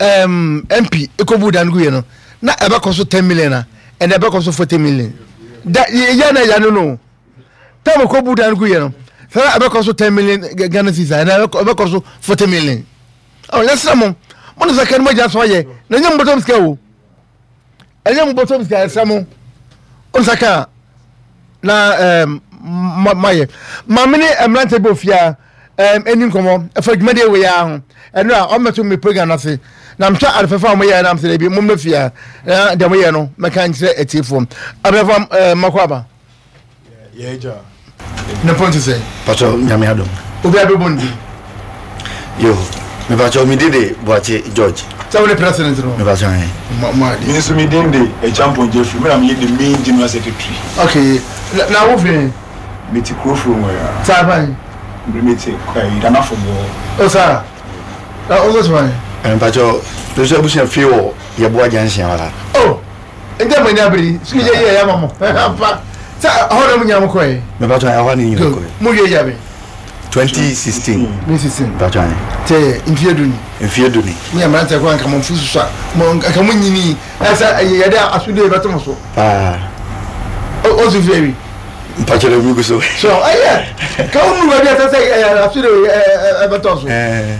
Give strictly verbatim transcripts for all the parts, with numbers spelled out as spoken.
um, M P ekobu dan gu yɛ no na ɛbɛkɔ so ten million a, ɛnna ɛbɛkɔ so forty million da yɛ na yɛ no no time ekobu dan gu yɛ no sɛ ɛbɛkɔ so ten million Ghana cedis a, ɛnna ɛbɛkɔ so forty million. Ɔ yɛsrɛ mo, mo ne sɛ kɛne mo agya so ayɛ na ɛnyɛ mo bɔtɔm sika o, ɛnyɛ mo bɔtɔm sika. Yɛsrɛ mo, o nsa ka na ɛɛm mayɛ maame ne mmeranteɛ bi ofia ɛɛm ɛni nkɔmɔ ɛfa dwumadie wei ara ho. Ɛno a ɔmmɛto mi program n'ase na mehwɛ ade fɛfɛ a wɔyɛ nam sɛ ebi mo mmɛ fia na deɛ moyɛ no mɛka nkyerɛ atiefoɔ abɛfa ɛɛ mmakɔ aba. Yɛgya. Ne pɔn ti sɛ? Patro, Nyame adom. Obi abɛbɔ ne din. Yo, mepatro, me din de Boakye George. Sɛ wo ne president no? Mepatro ɛ. Mo mo ade. Me nso me din de Acheampong Jeffrey. Me na meyɛ the main general secretary. Okay, na na wo fi? Mete Kurofuro mu ya. Saa fan? Mete Danafo mu. O saa na o nso fan? Mepatro, me nso abusua fie wɔ Yɛboa Junction hɔ la. Oh, nti mo ani abere sukuu yɛ yɛ yɛ ama mo ampa sɛ ɛhɔ na mo nyina mo kɔɛ? Mepatro, ɛhɔ ne nyina kɔɛ. Mo wie yabe? twenty sixteen. twenty sixteen. Mepatro ɛ. Tɛ mfie du ni? Mfie du ni. Mo yɛ mmeranteɛ kɔ anka mo mfu soso a mo nka mo nyini ɛsɛ yɛde asodie bɛto mo so. Paa. O o so fie bi? Mpatro de mi gu so. So ɛyɛ ka wo nuru baabi a ɛsɛ sɛ ɛyɛ asodie ɛbɛtɔ so. Ɛɛ.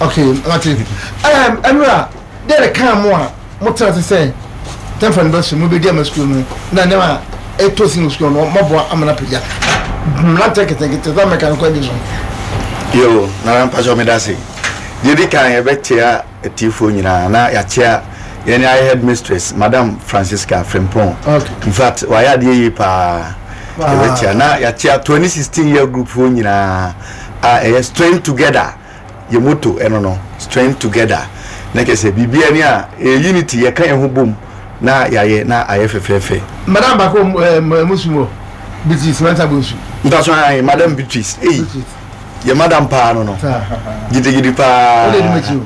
Okay, mate. ɛm ɛnura deɛ de kan mo a mo tena se sɛ tɛnfa no bɛ so mo bɛ di ama sukuu no na nneɛma a ɛtɔ si no sukuu no mɔboa ama na pagya mmeranteɛ ketenkete sɛ mɛka no kwan bi so. Yo, nana, mpatro, meda se. Deɛ di kan, yɛbɛkyea atiefoɔ nyinaa na yɛakyea yɛne ayɛ headmistress, Madam Francisca Frimpong. Okay. In fact, wayɛ adeɛ yie paa. Yɛbɛkyea na yɛakyea twenty sixteen year group foɔ nyinaa a ɛyɛ Strength Together. Yɛ motto ɛno no, Strength Together, na kyerɛ sɛ biribiara ni a ɛyɛ unity, yɛka yɛn ho bom na yɛayɛ na ayɛ fɛfɛɛfɛ. Madam baako ɛɛ musu wɔ Beatrice Mɛnsa Bonsu. Mpaso ayi, Madam Beatrice eyi. Beatrice. Yɛ madam paa no no Saa. Gidigidi paa. O de di m'akyi o.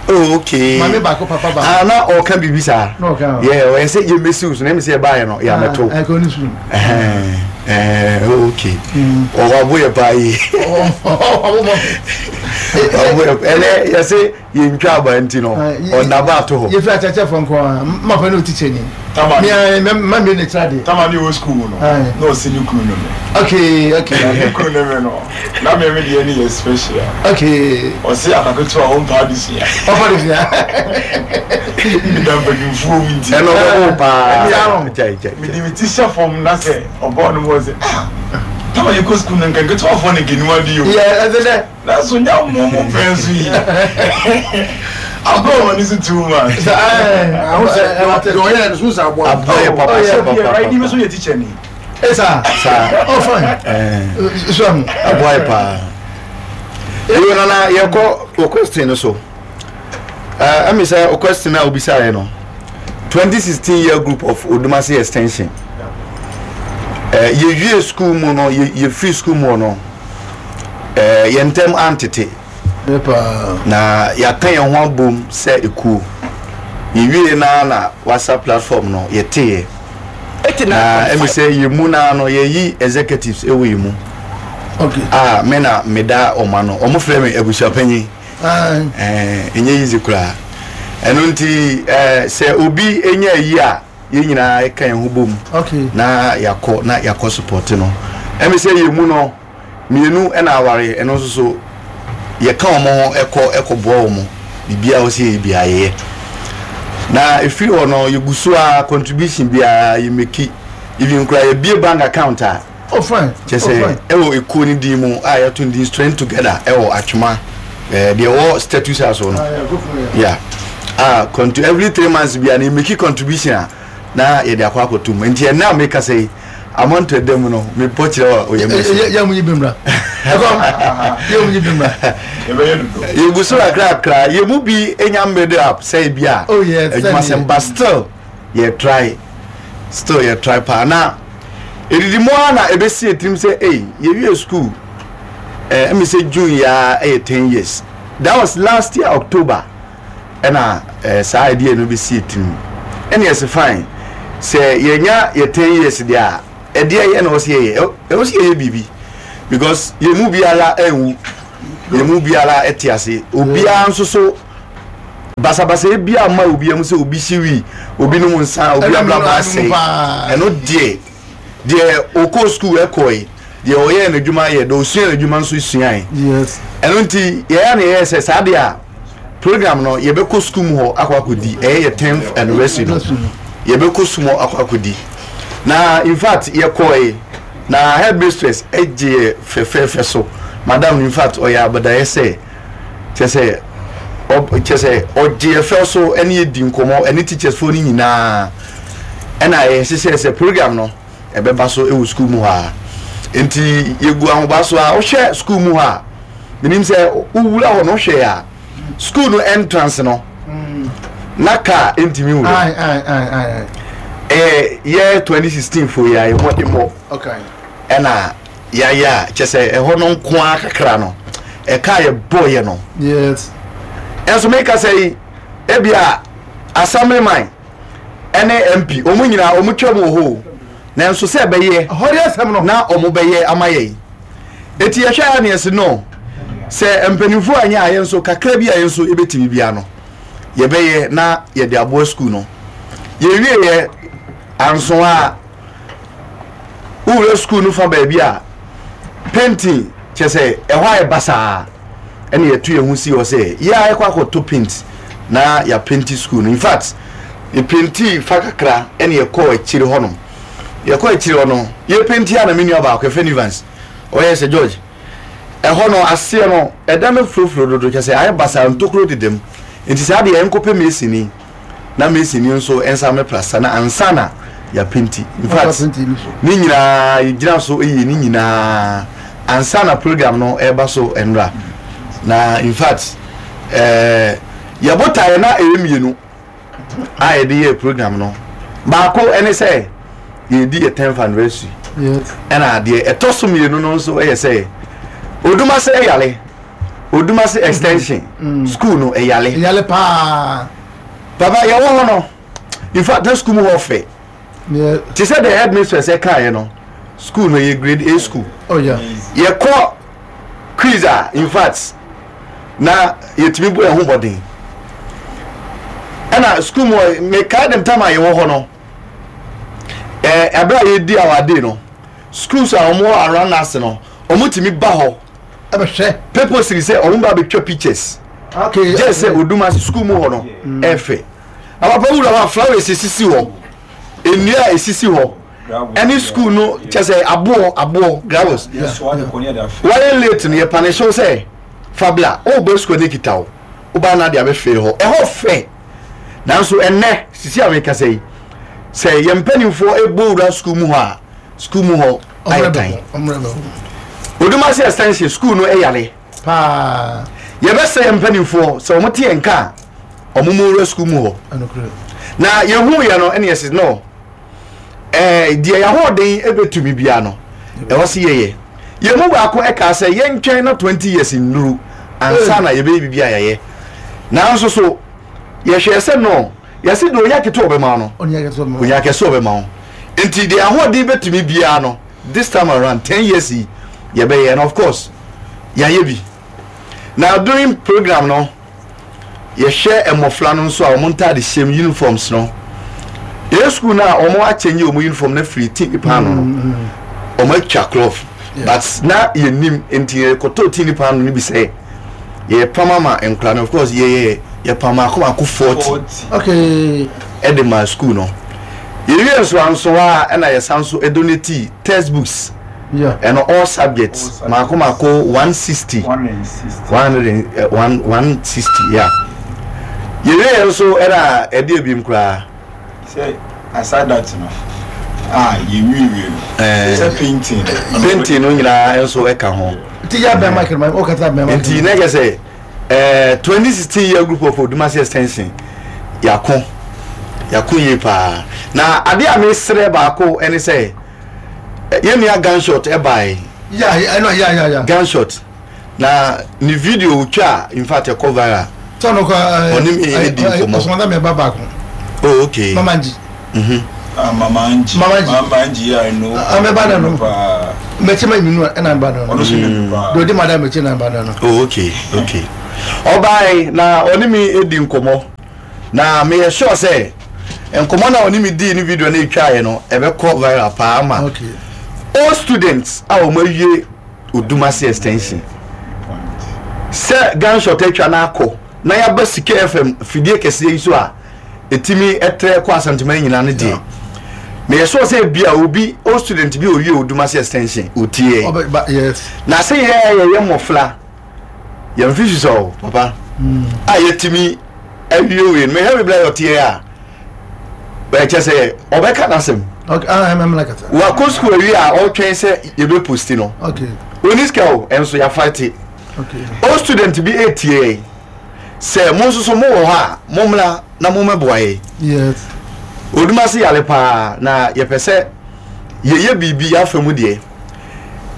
Oh, okay. Maame baako, papa baako. Ah, na ɔka biribi saa. Na ɔka o. Yɛ ɔyɛ sɛ yɛ mesi so na ɛmi sɛ yɛbaayɛ no yɛ amɛto. Ah, ɛkɔ ne sukuu. ɛhɛn ɛɛ oh, okay, ɔwɔ abo yɛ paa yi. Ɔbɔ. Ɔbo yɛ ɛnɛ yɛsɛ yɛntwa aba nti no ɔnaba ato hɔ. Yɛfiri akyerɛkyerɛfoɔ nko a mapa ne o teacher ni. Tama. Mea mma mmiri ne kyerɛ adeɛ. Tama ne wɔ school mu no. Aye. Na ɔsi ne kunu no me. okay okay Na ne kunu no me no. Na me me deɛ ne yɛ special. Okay ɔsi akaketewa a ɔmpa adesua. Ɔfa de fia. Meda mpanyinfoɔ mu nti. Ɛnna ɔbɛbɔ paa. Ɛni ano. Gyae gyae. Mede me ti hyɛ fam na sɛ ɔbɔɔ no mu ɔsɛ, ah, tama yɛ kɔ school no nka nketewafoɔ ne nketewa di o. Yɛ ɛsɛ dɛ. Nanso nya mo mo pɛn so yi agorɔ wɔ ne so too much. Sɛ ɛɛ ahu sɛ deɛ ɔyɛ no so sɛ aboa. Aboa yɛ papa Oh, yeah. sɛ Bi papa. right ni mi so yɛ teacher ni. Ɛsa. Saa. Oh, fine. Ɛɛ so ahu. Aboa yɛ paa. Yo, nana, yɛkɔ o question no so. ɛɛ ɛmi sɛ o question a obisa yɛ no, twenty sixteen year group of Odumase Extension, ɛɛ yɛwie school mu no, yɛ yɛfiri school mu no, ɛɛ yɛn ntɛm antete. Ne paa. Na yɛaka yɛn ho abom sɛ ekuo. Yɛwie naa na WhatsApp platform no yɛteeɛ na ɛmi sɛ yɛn mu naa no yɛyi executives ɛwɔ yɛn mu. Okay a me na meda ɔmo ano, ɔmo frɛ me abusuapanyin. Ayi. ɛɛ ɛnyɛ easy koraa. Ɛno nti ɛɛ sɛ obi enya ayi a, yɛn nyinaa ɛka yɛn ho bom okay na yɛakɔ na yɛakɔ support no. Ɛmi sɛ yɛn mu no mmienu ɛna aware, ɛno nso so yɛka wɔn ho ɛkɔ ɛkɔ boa wɔn biribiara a wɔsi yɛ biara yɛyɛ. Na efiri hɔ no, yɛgu so a contribution biara yɛ make, even koraa yɛbie bank account a Oh, fine. kyɛ Oh, sɛ fine. ɛwɔ ekuo no din mu a yɛto no din Strength Together ɛwɔ Atwoma, ɛɛ deɛ ɛwɔ Status House hɔ no. Ah, yeah, go for it. Yeah, ah, contri every three months bi a na yɛ make contribution a na yɛde akɔ akɔto mu. Nti ɛnna a meka sɛ yi amɔntɔ ɛda mu no mebɔ kyerɛ wɔ oyɛ mu. Yɛ yɛ mu yi bi mra ɛkɔm yɛ mu yi bi mra. Yɛbɛyɛ dodo. Yɛgu so kakrakra. Yɛ mu bi enya made up sɛ bi a Oh, yes, adwuma sɛm, but still yɛ try, still yɛ try paa. Na edidi mu ara na ebesi etirim sɛ ei, yɛwie school ɛɛ ɛmi sɛ June yaa ɛyɛ ten years. That was last year October. Ɛna ɛɛ saa idea no besi etirim, ɛna yɛsɛ fine, sɛ yɛnya yɛ ten years deɛ a, ɛdeɛ yɛ na ɔsɛ yɛyɛ, ɛwɔ sɛ yɛyɛ biribi because yɛn mu biara ɛnwu, yɛn mu biara ɛte ase, obiara nso so. Basabasa bi ama obi amu sɛ obi hye wi, obi nom nsa, obi Ɛno abrabɔ ɛno asɛe. Paa. Ɛno deɛ deɛ ɔkɔ school ɛkɔe, deɛ ɔyɛ n'adwuma yɛ, deɛ ɔsua n'adwuma nso suae. Yes ɛno nti yɛyɛ ne yɛyɛ sɛ saa deɛ a program no yɛbɛkɔ school mu hɔ akɔ akɔdi. Ɛyɛ yɛ tenth anniversary no, yɛbɛkɔ school mu hɔ akɔ akɔdi. Na in fact yɛkɔe na headmistress ɛgye yɛ fɛfɛɛfɛ so. Madam no, in fact, ɔyɛ abadaeɛ sɛ kyɛ sɛ ɔ kyɛ sɛ ɔgye yɛ fɛw so ɛne yɛdi nkɔmmɔ ɛne teachers foɔ no nyinaa. Ɛna yɛhyehyɛ sɛ program no ɛbɛba so ɛwɔ school mu hɔ a, nti yɛgu ahoba so a wohwɛ school mu hɔ a, menim sɛ wowura hɔ no, wohwɛ a school no entrance no na car ntumi wura. Aye aye aye aye. Ɛyɛ yɛ twenty sixteen fo yɛ a yɛmmɔde mmɔ okay ɛna yɛayɛ a kyɛ sɛ ɛhɔ no nko ara kakra no ɛka yɛ bɔɔyɛ no. Yes ɛnso meka sɛ yi ebia assemblyman ɛne M P ɔmo nyinaa ɔmo twam wɔ hɔ o, nanso sɛ ɛbɛyɛ ɛhɔ de asɛm no na ɔmo bɛyɛ ama yɛn. Eti yɛhwɛ a ne yɛsi no sɛ mpanimfoɔ anyɛ a, yɛn nso kakra bi a yɛn nso ebɛtumi bia no yɛbɛyɛ na yɛde aboa sukuu no. Yɛwie yɛ anso a wowura sukuu no fa baabi a painting kyɛ sɛ ɛhɔ ayɛ basaa, ɛna yɛto yɛn ho si hɔ sɛ yɛ a yɛkɔ akɔtɔ paint na yɛapaint sukuu no. In fact, yɛpaint fa kakra ɛna yɛkɔɔ akyire hɔnom. Yɛkɔ akyire hɔ no, yɛpaint a na me nua baako yɛfrɛ no Evans ɔyɛ sɛ George, ɛhɔ no aseɛ no ɛda no furofuro dodo kyɛ sɛ ayɛ basaa, ntokuro dedam, nti saa deɛ yɛnkɔpɛ masoni na masoni nso nsa mɛplaster na ansa na yɛapaint. In fact, ne nyinaa yɛgyina so yie ne nyinaa ansa na program no ɛreba so nwura. Na in fact ɛɛ yɛbotaeɛ na ɛyɛ mmienu a yɛde yɛ program no. Baako ɛne sɛ yɛdi yɛ tenth anniversary, ɛna adeɛ ɛtɔ so mmienu no nso ɛyɛ sɛ Odumase ɛyale, Odumase Extension mm. School no ɛyale. Ɛyale paa. Papa, yɛwɔ hɔ no, in fact na school mu hɔ fɛ te sɛ the headmistress ɛkaeɛ no, school no yɛ grade A school. Oh, yeah. Yɛkɔ quiz a, in fact na yɛtumi bɔ ɛho bɔden. Ɛna school mu mekae dem time a yɛwɔ hɔ no, ɛɛ abere a yɛdi our day no, schools a wɔn wɔ around us no, wɔn tumi ba hɔ ɛbɛhwɛ purposely sɛ wɔn ba abɛtwa pictures. Okay gye sɛ Odumase school mu hɔ no ɛfɛ. Apapa wura hɔ a, flowers esisi hɔ, nnua a esisi hɔ, ɛne school no kyɛ sɛ aboɔ aboɔ gravels. Wɔyɛ late no, yɛ punish sɛ fabla ɔwɔ school ne kita o, ɔbaa na de abɛfɛ hɔ, ɛhɔ fɛ. Nanso ɛnɛ sisi a mekasa yi, sɛ yɛn mpanimfoɔ ebɔ wura school mu hɔ a, school mu hɔ ayɛ tan. Odumase Extension School no ɛyare paa. Yɛbɛsɛ yɛn mpanimfoɔ sɛ wɔn te yɛn ka a, wɔn mu wura school mu hɔ. Na yɛhu yɛ no, ɛna yɛsi no ɛɛ deɛ yɛahoɔden ɛbɛtumi bia no ɛwɔ si yɛyɛ. Yɛn mu baako ɛka sɛ yɛntwɛn na twenty years nnuru ansa na yɛbɛyɛ biribi a yɛyɛ. Nanso so yɛhwɛ sɛ no yɛsi deɛ onya ketewa ɔbɛma no, onya kɛse ɔbɛma wo. Nti deɛ ahoɔden bɛtumi biara no, this time around ten years yi yɛbɛyɛ. And of course yɛayɛ bi. Na during program no, yɛhwɛ mmɔfra no nso a wɔn ntaade hyɛm, uniforms no, yɛyɛ school no a wɔn akyɛnye wɔn uniform no afiri tin paano no, wɔn atwa cloth, but na yɛnim nti yɛkɔtɔ tin paano no bi sɛ yɛpam ama nkora no. Of course yɛyɛ yɛpam mako mako forty okay ɛde ma school no. Yɛwie nso anso a, ɛna yɛsan so donate textbooks yeah ɛno all subjects mako mako one sixty, one hundred and one one sixty. Yeah, yɛwie yɛn nso ɛna ɛde ebiem koraa. Sɛ aside that no a yɛwiewie no ɛɛ sɛ painting. Painting no nyinaa nso ɛka ho. Nti yɛ abɛn mic no, ɔkasa abɛn mic. Nti ne kɛ sɛ ɛɛ twenty sixteen year group of Odumase Extension, yako yako yie paa. Na adeɛ a mesrɛ baako ɛne sɛ ɛ, yɛn nua Gunshot ɛbae. Ya, ɛno ya ya ya. Gunshot na ne video twa a, in fact ɛkɔ viral. Sɛ ɔno kɔ Ɔne me ɛdi nkɔmmɔ. Ɔsɔmɔdá mi ɛba baako. Oh, okay. Mama Nji. Mhm. Ah, Mama Angie. Mama Angie. Mama Angie, yeah, I know. Ah, me ba na no. Paa. Mɛkyi ma nyinu ɛna ba no. Ɔno nso nim paa. Dodi madam mɛkyi na ba no. Oh, okay okay Ɔbaa na ɔne mi edi nkɔmɔ na meyɛ sure sɛ nkɔmɔ na ɔne mi di ne video na etwa yɛ no ɛbɛkɔ viral paa ama Okay. all students a wɔn awie Odumase Extension sɛ gunshot atwa n'akɔ na yaba Sika F M fidie kɛseɛ yi so a etimi ɛtrɛ kɔ Asanteman nyinaa no deɛ, meyɛ sure sɛ bia obi, all student bi a owie Odumase Extension otie. Ɔbɛ ba, yes. Na sɛ yɛ yɛyɛ mmɔfra yɛn fi sisɛ o papa a yɛtumi awie wei no, mehwɛ bibila yɛ ɔteɛ a ɛkyɛ sɛ ɔbɛka n'asɛm. Okay, ah, ɛmɛ mɛ kasa. Wakɔ sukuu awie a ɔretwɛn sɛ yɛbɛ post no. Okay. Oni sika o, ɛnso yɛafight. Okay. All student bi etie yɛn sɛ mo nso so mo wɔ hɔ a, mo mmra na mo mmɛboa yɛn. Yes. Odumase yale paa na yɛpɛ sɛ yɛyɛ biribi afa mu deɛ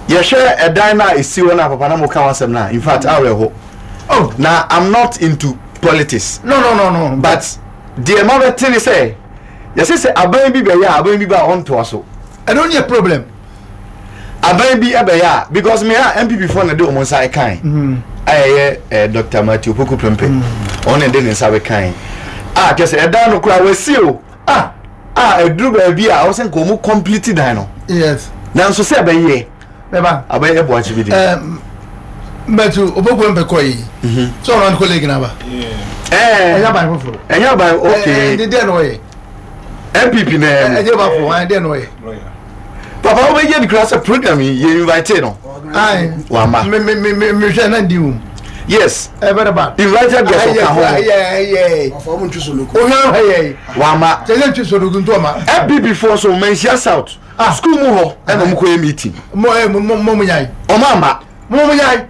yɛhwɛ ɛdan no a ɛsi hɔ no a papa na mo ka ho asɛm no a, in fact awerɛho. Oh. Na I'm not into politics. No, no, no, no. But deɛ ma bɛte ne sɛ yɛsɛ sɛ aban bi bɛyɛ a, aban bi ba a ɔntoa so. Ɛno nyɛ problem. Aban bi ɛbɛyɛ a, because me a N P P foɔ na de wɔn nsa ɛkan a ɛyɛ ɛ Doctor Matthew Opoku Prempeh, ɔno na de ne nsa bɛkan a kyɛ sɛ ɛdan no koraa wɔasi o Ah. a ɛduru baabi a ɔsɛ nka wɔn complete dan no. Yes. Nanso sɛ ɛbɛyɛ Bɛba. Aban ɛbɔ akyi bi de. Ɛɛ mbɛtu Opoku mpɛ kɔ yi. So ɔno colleague n'aba. Ɛɛ Ɛnyɛ aban foforɔ. Ɛnyɛ aban, okay. Ɛɛ deɛ na ɔyɛ. N P P na ɛmu. Ɛnyɛ ba fo, ɛn deɛ na ɔyɛ. Papa, wobɛgye de kura sɛ program yi yɛ invite no. Ayi. Wama. Me me me me me hwɛ na ndi wum. Yes. Ɛ very bad. Invited guest ɔka ho. Ɛyɛ ɛyɛ. Ɔfa ɔmo ntwi so loko. Ohwɛ ɛyɛ. Wama. Kyɛ sɛ ntwi so loko nto ɔma. N P P foɔ so Manhyia South Ah. school mu hɔ ɛna ɔmo kɔyɛ meeting. Mo ɛ mo mo mo mo nyae. Ɔmo ama. Mo mo nyae.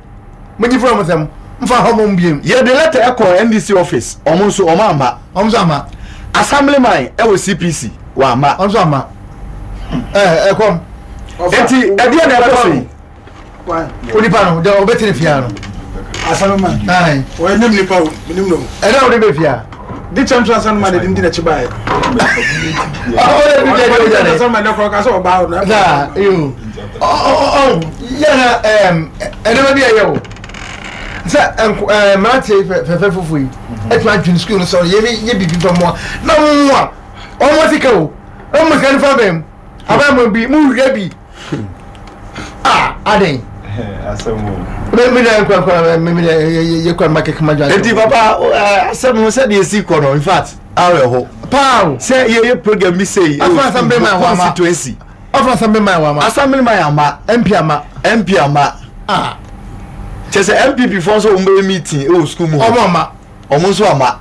Mo nyi fura mo sɛm. Nfa hɔ mo mbiem. Yɛde letter ɛkɔ N D C office, ɔmo nso ɔmo ama. Ɔmo nso ama. Assemblyman ɛwɔ C P C wama. Ɔmo nso ama. Ɛ ɛkɔm. Eti ɛdeɛ na ɛkɔ so yi? Onipa no deɛ ɔbɛtene fia no. Assemblyman. Ayi. Ɔyɛ nim nipa o, nim no. Ɛdɛ ɔde bɛ fia. Di kyɛn to assemblyman de di n'akyi baayɛ. Ɔde bi deɛ deɛ ɔgya. Assemblyman de kɔ kasa ɔbaa o na. Saa yo ɔ ɔ ɔ yɛn ɛm ɛdɛmɛ bi ɛyɛ o sɛ nko ɛɛ mmeranteɛ fɛfɛ fufu yi ɛtuma adwene sukuu no sɔrɔ yɛ yɛ bibi fɛ mu a na mu a ɔmo sika o, ɔmo sika nifa bɛn mu aban mu bi mu wia bi a adan mi mi na nkura nkura mi mi na yɛ yɛ kura mma kɛkɛ ma dwa. Eti papa, ɛɛ asɛm no sɛdeɛ esi kɔ no, in fact awerɛho paa o. Sɛ yɛyɛ program bi sɛ yi Afa assemblyman wɔ ama. Constituency. Ɔfa assemblyman wɔ ama. Assemblyman ama. M P ama. M P ama. Ah. Kyɛ sɛ N P P foɔ nso wɔn bɛyɛ meeting ɛwɔ school mu hɔ. Ɔmo ama. Ɔmo nso ama.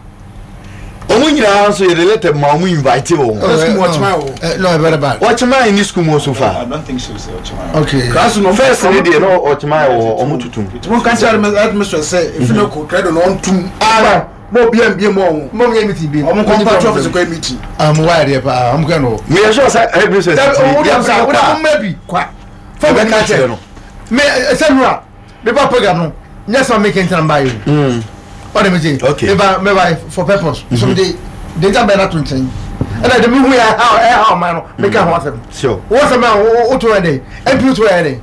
Ɔmo nyinaa nso yɛde letter ma ɔmo invite wɔn. School mu ɔkyema wɔ. ɛ no, very bad. Ɔkyema ni school mu so far. I don't think so sɛ ɔkyema. Okay. Class no. First ne deɛ na ɔkyema wɔ hɔ, ɔmo tutum. Mo ka kyerɛ headmistress sɛ efi ne ko credo na ɔntum. Ah. Mo obi mbie mu ɔmo. Mo yɛ meeting bi. Ɔmo nkɔ party office kɔ meeting. Ah, mo wa yɛ paa, ɔmo kɛ no. Meyɛ sure sɛ headmistress Dabi, ti o de yɛn sa nsa o de kɔ mo mɛ bi kwa. Fɔ mi Ɛbɛka ka kyerɛ kyerɛ no. Mɛ ɛsɛ nura mi ba program no nyɛ sɛ mi kɛntɛn ba yi o. Ɔde mi se. Okay. Mi ba mi ba for purpose. So mi de de nta bɛn na to nkyɛn. Ɛna de mi hu yɛ ha ɛha ɔman no mi ka ho asɛm. Sure. Wọ́n sɛ mɛ o to yɛ dɛ M P to yɛ dɛ.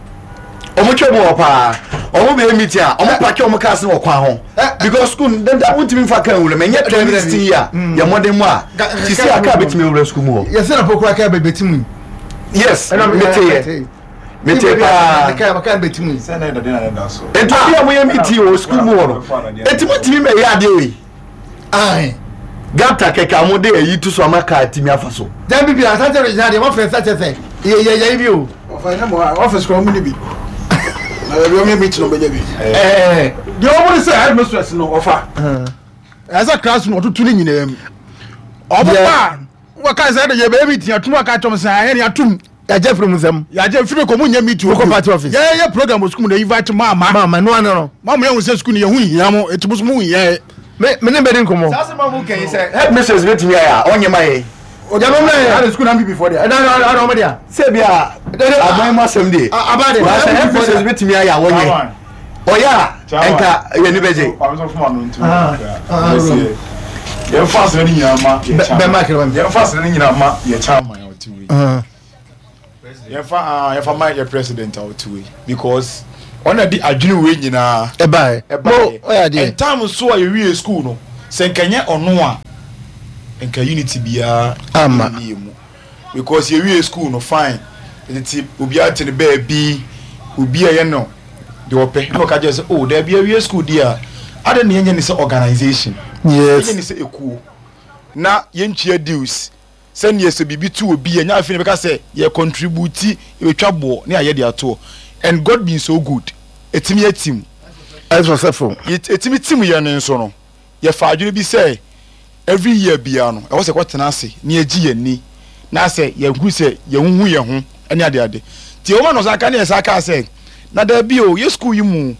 Ɔmo twɛ mu wɔ paa, ɔmo bɛyɛ meeting a ɔmo park ɔmo cars no wɔ kwan ho because school dada wontumi nfa kaa nwura mɛ nyɛ twenty sixteen yi a yɛ mmɔden mu a sisi a kaa bɛtumi awura school mu hɔ. Yɛsɛ na pokura kaa bɛ bɛ ti mu yi. Yes, mete yɛ mete paa. Kaa kaa bɛ ti mu yi. Sɛ na ɛdade na ɛda so. Nti obi a moyɛ meeting wɔ school mu hɔ no, eti mo ntumi mɛ yɛ adeɛ wei? Ayi. Gata kɛkɛ a mo de ayi to so ama kaa timi afa so. Dan bibi asante regional deɛ wɔn fɛ nsa kyɛ sɛ yɛ yɛ yɛ bi o. Ɔfa ɛnyɛ mo office kɔ ɔmo ni bi. Na baabi ɔmo yɛ meeting ɔmo bɛnya bi. Ɛɛ. Deɛ ɔmo de sɛ headmistress no ɔfa. Ɛsɛ class no ɔtutu ne nyinaa mu. Ɔmo ba wɔka sɛ ɛde yɛ bɛyɛ meeting atum aka kyɛm sɛ ayɛ ne atum. Yàjẹ́ firi mu nsɛm. Yàgye firi kɔ mo nyɛ meeting. Wokɔ party office. Yɛ yɛ program wɔ sukuu mu na invite mo ama. Maa ma nua no. Mo mo yɛ hu sɛ sukuu no yɛ ho hia mo eti mo so mo hia yɛ. Me me ne bɛ di nkɔmɔ. Saa sɛ ma mo kɛn sɛ headmistress bɛtumi ayɛ a ɔnyɛ ma yɛ. Yàrá mu náà yɛ. Ɛna sukuu na N P P fɔ deɛ. Ɛna ɛna ɛna ɔmo deɛ. Sɛ bi a aban mu asɛm deɛ. Aba de. Wa sɛ headmistress bɛtumi ayɛ a wɔnyɛ ɔyɛ a ɛnka yɛ ni bɛgye. Kwame sɔ fún ano ntumi. Ah, ah, Yɛmfa asɛrɛ no nyinaa ma yɛ Bɛ- bɛma kere ma. Yɛmfa asɛrɛ no nyinaa ma yɛ chairman a ɔte wei. Yɛmfa ah yɛmfa ma yɛ president a ɔte wei because Ɔna de adwene wei nyinaa ɛbaeɛ. Ɛbaeɛ. Mo ɔyɛ adeɛ. And time so a yɛwie school no, sɛ nkɛnyɛ ɔno a, nka unity biara Ama. nni yɛ mu, because yɛwie school no fine, tete obiara te ne baabi, obi a ɛyɛ no deɛ ɔpɛ na ɔka kyerɛ sɛ, oh daabi, awie school di a ade ne yɛnyɛ ne sɛ organisation, yes yɛnyɛ ne sɛ ekuo na yɛntua dues, sɛnea sɛ biribi to obi yɛ nya afei na bɛka sɛ yɛ contribute, yɛbɛtwa boɔ ne ayɛ de atoɔ. And God being so good, ɛtumi atim. Ɛyɛ successful. Ɛtumi tim yɛ no nso no, yɛfa adwene bi sɛ every year biara no, ɛwɔ sɛ kɔtena ase na yɛgye yɛn ni na sɛ yɛhu sɛ yɛhuhu yɛn ho ne adeade. Nti ɛwɔ ma no sa ka ne yɛ sa kaa sɛ na daabi o, yɛ school yi mu,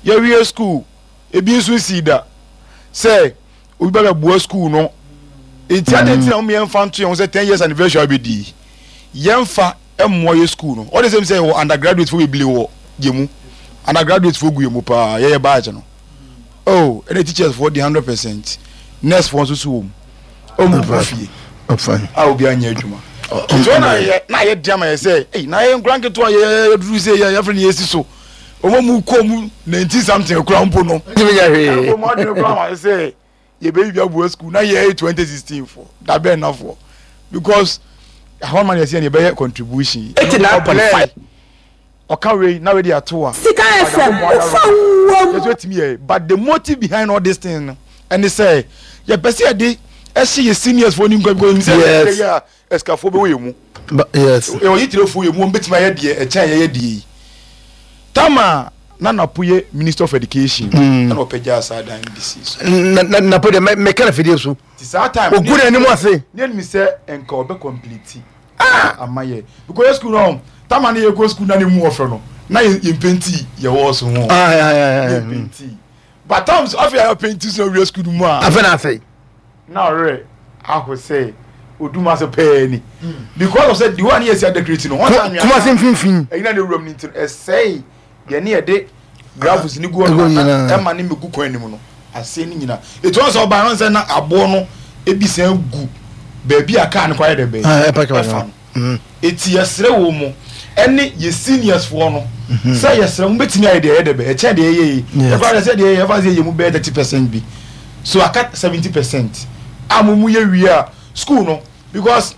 yɛwie school, ebi nso nsii da sɛ obi ba bɛboa school no. Nti ade nti na wɔn yɛmfa nto yɛn ho sɛ ten years anniversary abɛdi, yɛmfa mmoa yɛ school no. Ɔde sɛm sɛ yɛwɔ undergraduate fo bebree wɔ yɛ mu, undergraduate fo gu yɛ mu paa. Yɛyɛ batch no oh, ɛna teachers fo di hundred percent, nurse fo nso so wɔ mu, ɔmu kɔ fie ɔfan a obi anyɛ adwuma. Nti ɔna yɛ na yɛ di ama yɛ sɛ ɛyi na yɛ nkura nketewa yɛ yɛ duru sɛ yɛ yɛfrɛ no yɛ si so, ɔmo mu kɔ mu nineteen something kura mpo no. Ntumi nyɛ hwee. Ɛna ɔmo adwene kura ma yɛ sɛ yɛbɛyi bi aboa school na yɛ twenty sixteen fo dabɛn nafoɔ, because ahɔn ma yɛ sɛ yɛbɛyɛ contribution. Eighty nine point five. Ɔka wei na wei de ato a Sika F M wofa wom. Yɛsɛ otumi yɛ, but the motive behind all this thing no ɛne sɛ yɛpɛ sɛ yɛde ɛhyɛ yɛ seniors fo ni nkwa, because sɛ Yes. yɛ a ɛsikafoɔ bɛwɔ yɛ mu. Ba- yes ɛwɔ yitirefoɔ yɛ mu, wɔn bɛtumi ayɛ deɛ ɛkyɛn yɛyɛ deɛ yi. Tama na Napo yɛ Minister of Education, Mm. ɛna ɔpɛgya saa dan no de si so. Na na Napo deɛ, mɛ mɛka na fidie so. Ti saa time Ogu n'anim ase. Ne anim sɛ nka ɔbɛ complete ama yɛ, because yɛ school no, tama ne yɛ kɔ school na ne mu ɔfɛ no na yɛ yɛ mpaint yɛ wɔ so ho. Ah, yeah, yeah, yɛ yeah. mpaint, but times afei a yɛ paint so na wia school no mu a Afei na afei na ɔrɛ aho sɛ odum ase pɛɛ ni, because of sɛ the one yɛ si adecorate no wɔn sɛ anwea Kumase mfimfini. Ɛyi na ne wuram ne nti no, ɛsɛe deɛ ne yɛde gravels ne gu Egu hɔ nyinaa. na ɛma ne megu kwan anim no ase ne nyinaa. Etu wɔn sɛ ɔbaa no sɛ na aboɔ no ebi sɛn gu beebi a kaa no kɔ ayɛ dɛ bɛyɛ Ah, ɛpa kaba ɛfa no. no. Eti yɛsrɛ wɔ mu ɛne yɛ seniors foɔ no sɛ yɛsrɛ mo, bɛtumi ayɛ deɛ ɛyɛ dɛ bɛ ɛkyɛn deɛ ɛyɛ yi. Yes. Ɛfa sɛ deɛ ɛyɛ, ɛfa sɛ yɛ mu bɛyɛ thirty percent bi so, aka seventy percent a mo mu yɛ wie a school no, because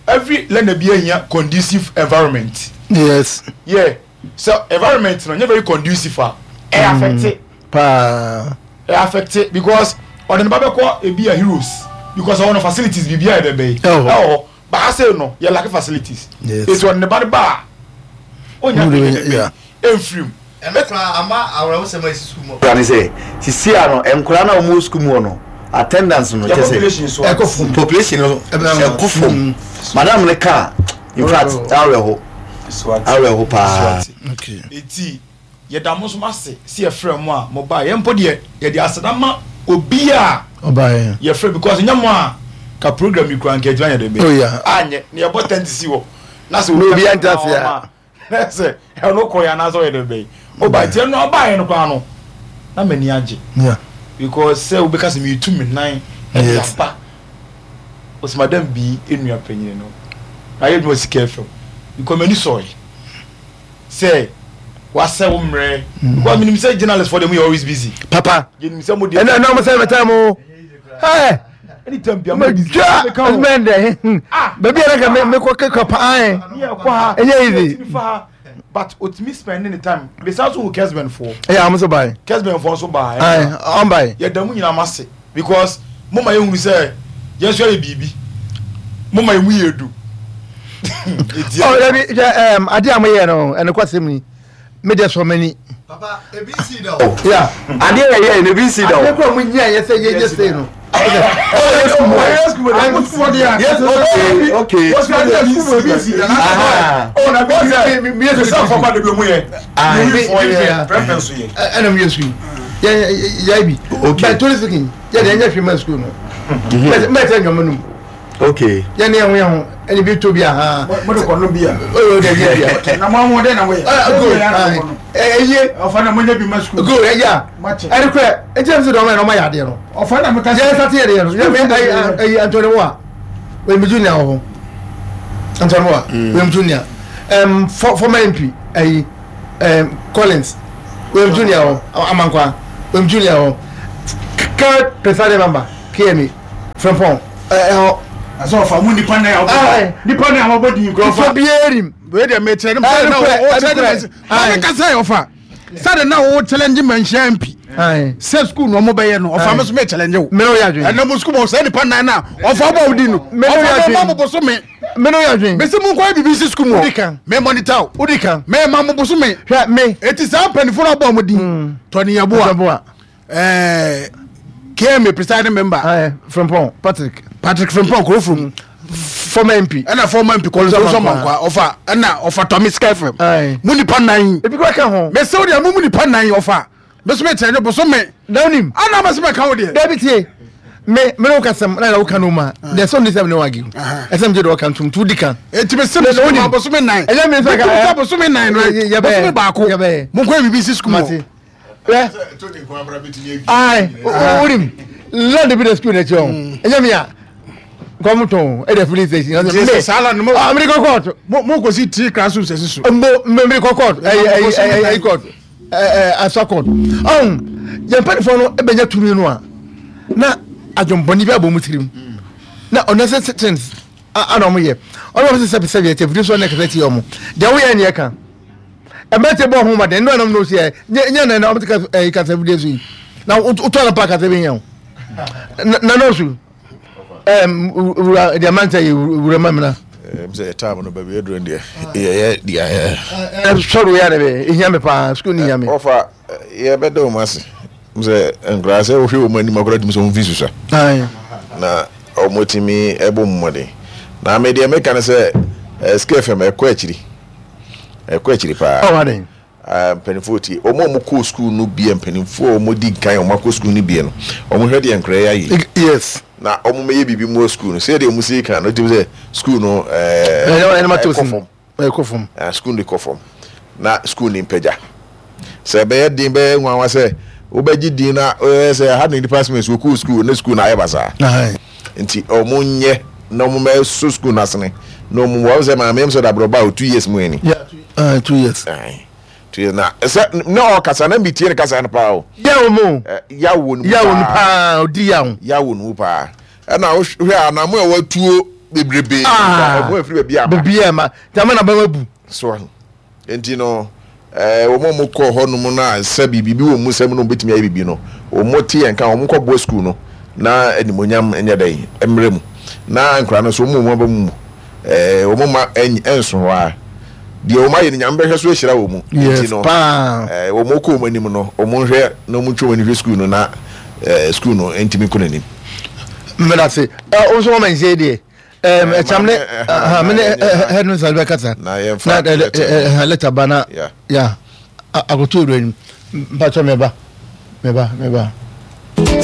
every learner bi ehia conducive environment. Yes yeah, so environment no nye very conducive a, ɛ affect paa. Ɛ affect, because ɔde ne ba bɛkɔ ebi a Heroes, because ɔwɔ no facilities biribi a yɛ dɛ bɛyi Ɛwɔ hɔ. ɛwɔ hɔ, but ase no yɛ lack facilities. Yes. Eti ɔde ne ba ne ba a onya Mo de hwee bɛnya- dɛ yeah. bɛyi ɛnfirim. Ɛno koraa ama awerɛhosɛm a ɛsi sukuu mu ne sɛ sisi a no, nkwadaa no a wɔwɔ sukuu mu hɔ no, attendance no yɛ kyɛ sɛ population so a Ɛkɔ fam. Population no Ɛbɛn- ɛkɔ fam. Madam ne ka, in fact, awerɛho awerɛho paa. Okay. Eti yɛda mo nso ase si yɛfrɛ mo a mo ba yɛn mpo deɛ, yɛde aseda ma obi a ɔbaa yɛ. Yɛfrɛ, because nyɛ mo a ka program yi kura nka adwuma yɛ dɛ bɛ Oh, yeah. anyɛ ne yɛbɔ tent si hɔ na sɛ Na obi ante ase a. Na sɛ ɛno kɔ yɛ anaasɛ ɔyɛ dɛ bɛyi ɔba nti ɛno ɔba yɛ no koraa no na m'ani agye, Yeah. because sɛ wobɛka sɛ meetu me nan ɛde Yes. aba ɔsɛ madam bi enua panyin no na ayɛ adwuma Sika F M, because m'ani sɔɔ sɛ wasɛ wo mmerɛ, because menim sɛ journalist for them yɛ always busy. Papa. Yɛnim sɛ mo deɛ ɛnna ɛnna ɔmo sɛ mɛta mo ɛɛ anytime bia mo dwa ɛsumɛn dɛ Ah. baabi a nka me kɔ kekɔ paa. Ne yɛ kɔ ha. Ɛnyɛ easy. Yɛtumi fa ha, but otumi spend ne time besan so wɔ Kesben foɔ. Ɛyɛ ɔmo so baa. Kesben foɔ nso baa. Ɛɛ ɔmo baa. Yɛda mu nyinaa ma se because mo ma yɛhunu sɛ yɛn nso yɛ biribi, mo ma yɛn mu yɛ du. Eti Ɔ dabi, hwɛ, ɛɛm adeɛ a mo yɛ no, ɛno kɔ asɛm ni, me deɛ sɔ m'ani. Papa, ebi si da o. Yeah. Adeɛ yɛ yɛ no, ebi si da Adeɛ o. kura mo nyia yɛ sɛ yɛ yɛ sei no. Yes, okay okay Aha. Ah, ɛna mo yɛ sukuu yɛ yɛ bi. Okay. But truly speaking, yɛ de ɛnyɛ hwee ma sukuu no, mɛ tɛ nyɔmɔ num. Okay yɛ ne yɛn ho yɛn ho ɛna bi to bi aha. Mo de kɔ no bi a. Oye, o de yɛ bi a. Na mo ahoɔden na mo yɛ. Ɛ good, ɛ ɛyie. Ɔfa na mo nye bi ma sukuu. Good, ɛyɛ a Mate. ɛne kura ɛkyɛn sɛ dɔm yɛ na ɔma yɛ adeɛ no. Ɔfa na mo ka. Yɛn sate yɛ deɛ no yɛ mɛ ɛyi ɛyi Antoni wa oyɛ mi junior wɔ hɔ, Antoni wa oyɛ mi junior, ɛm fɔ former M P ɛyi ɛm Collins. William Junior hɔ, Amankwa William Junior hɔ, current presiding member K M A Frimpong ɛhɔ. Asɛ ɔfa mu nipa nan a wɔbɔ nipa nan a wɔbɔ din kura. Ɔfa ɔfa biara nim. Wei deɛ mekyerɛ ne sɛ na Ɛnokorɛ, wo challenge ɛnokorɛ. maame kasa yɛ ɔfa sɛde na wo challenge Manhyia M P sɛ school na ɔmo bɛyɛ no, ɔfa me so me challenge wo. Mene wo yɛ adwene. Ɛnna mo school mo sɛ nipa nan na ɔfa bɔ wo din no, Mene wo yɛ ɔfa adwene. mo ma mo bɔ so me. Mene wo yɛ adwene. Mesi mo nkɔ yɛ bibi si school mu. Wodi kan. Me monitor o. Wodi kan. Me ma mo bɔ so me. Hwɛ me. Eti saa mpanyinfoɔ no abɔ ɔmo din, Tony Yeboah, Yeboah. ɛɛ K M A presiding member. Aye, Frimpong Patrick. Patrick Frimpong Kurofrom. Former M P. Ɛna former M P Collins Owusu Owusu Amankwa, ɔfa ɛna ɔfa Tɔmi Sky F M. Aye. Mo nipa nan. Ebi kura ka ho. Mɛsɛw deɛ mo mu nipa nan, ɔfa mɛsɛ mɛ kyerɛ ne boso me. Na onim. Ana mɛsɛ mɛ ka wo deɛ. Dabi, tie me, me ne wo kasɛm na wo ka no ma deɛ sɛ ɔne sɛ me ne wo argue, ɛsɛ me gye de ɔka ntom nti wodi kan. Eti mɛ sɛ mɛ Na sɛ onim. boso me nan. Ɛnyɛ me nsa ka- Mɛ sɛ boso me nan no. Yɛ- yɛbɛyɛ. Boso me baako. Yɛbɛyɛ. Mo nkɔ yɛ bibi si sukuu mu. Mate. Hwɛ, ayi, wonim land bi da school n'akyi hɔ, ɛnyɛ mi a nkɔm tɔn ɛdɛ filling station. Nti sɛ saa land no mo Ah, mmiri kɔ court. mo mo kò si three classrooms ɛsi so. Mbo mmiri kɔ court, ɛyɛ ɛyɛ ɛyɛ ɛyɛ court, ɛɛ asa court ɔn yɛn mpanyinfoɔ no ɛbɛnya tumi no a, na adwombɔni bi abɔ mu tirim na unnecessary things ana ɔmo yɛ. Ɔno ɔmo sɛ sɛbi sɛbi ɛkyɛ firi so ɔne kasa ti ɔmo deɛ woyɛ neɛ ka ɛmɛnti bɔ ɔho ma den nnua nam na osi ɛ nyɛ nyɛ na ɔmo ti kasa ɛyi kasa fidie so yi na wotɔ na pa kasa bi yɛn o na na osu ɛm wura deɛ mɛnta yɛ wura ma mina. Ɛm sɛ time no baabi aduro deɛ yɛyɛ deɛ ɛ sɔrɔ yɛ de bɛ ehia mi paa, sukuu ni ehia mi. Ɔfa yɛbɛda wɔn ase m sɛ nkoraa sɛ wohwɛ wɔn anim akora tumi sɛ wɔn fi susua ayi na wɔn tumi ɛbɔ mu mmɔden. Na me deɛ meka no sɛ ɛ Sky F M ɛkɔ akyiri, ɛkɔ akyiri paa. Ɔwɔ adan. Ah, mpanimfoɔ tie wɔn a wɔkɔ sukuu no bie, mpanimfoɔ a wɔdi kan a wɔakɔ sukuu no bie no, wɔn hwɛ deɛ nkora yɛ ayɛ yes na wɔn mɛyɛ biribi mu wɔ sukuu no sɛdeɛ wɔn si kan no tumi sɛ sukuu no ɛɛ ɛnɛ ɛnɛ ma to ɛkɔ sin fam. Ɛkɔ fam. Ah, sukuu no kɔ fam na sukuu no mpagya sɛ ɛbɛyɛ den bɛyɛ nwanwa sɛ wobɛgye din na ɛyɛ sɛ ha ne department wɔkɔɔ sukuu ne sukuu no ayɛ basaa. Ayi. Nti ɔmo nyɛ na ɔmo mɛso sukuu no asene na ɔmo wɔn sɛ maame yɛm sɛ dabrɔba o two years mu ani. Yeah, uh, two years. Aye. Two years na sɛ na ɔkasa na mi tie ne kasa no paa o. Yawo mu. Ɛ, yawo no mu. Yawo no paa. Paa odi yawo. Yawo no mu paa, ɛna wohwɛ anamo a watuo bebrebe. Ah. Ɔmo afiri baabi aba. Beebi a ma jama na bɛma bu. So nti no ɛɛ wɔn a wɔn kɔ hɔnom na sɛ biribi bi wɔ mu sɛm na wɔn bɛtumi ayɛ biribi no, wɔn te yɛn ka, wɔn kɔ boa sukuu no na animonyam nyɛ dɛ mmerɛ mu na nkora no so wɔn mu aba mu ɛɛ wɔn ma ɛny ɛnso hɔ a deɛ wɔn ayɛ no, Nyame bɛhwɛ so ahyira wɔn mu. Yes. Nti no Paa. ɛɛ wɔn kɔ wɔn anim no, wɔn nhwɛ na wɔn ntwe wɔn ani hwɛ sukuu no na ɛɛ sukuu no ntumi kɔ n'anim. Mmeda se ɛ o nso wɔn ma nse deɛ ɛm Eh, ɛkyam ne maame, eh, ɛhàn mi ne na- head no sáré bɛ kasa. Na yɛmfa na ɛ letter. ɛ ɛ letter ba na Yeah. ya akoto ewura nim mpatsɔ mɛba mɛba mɛba.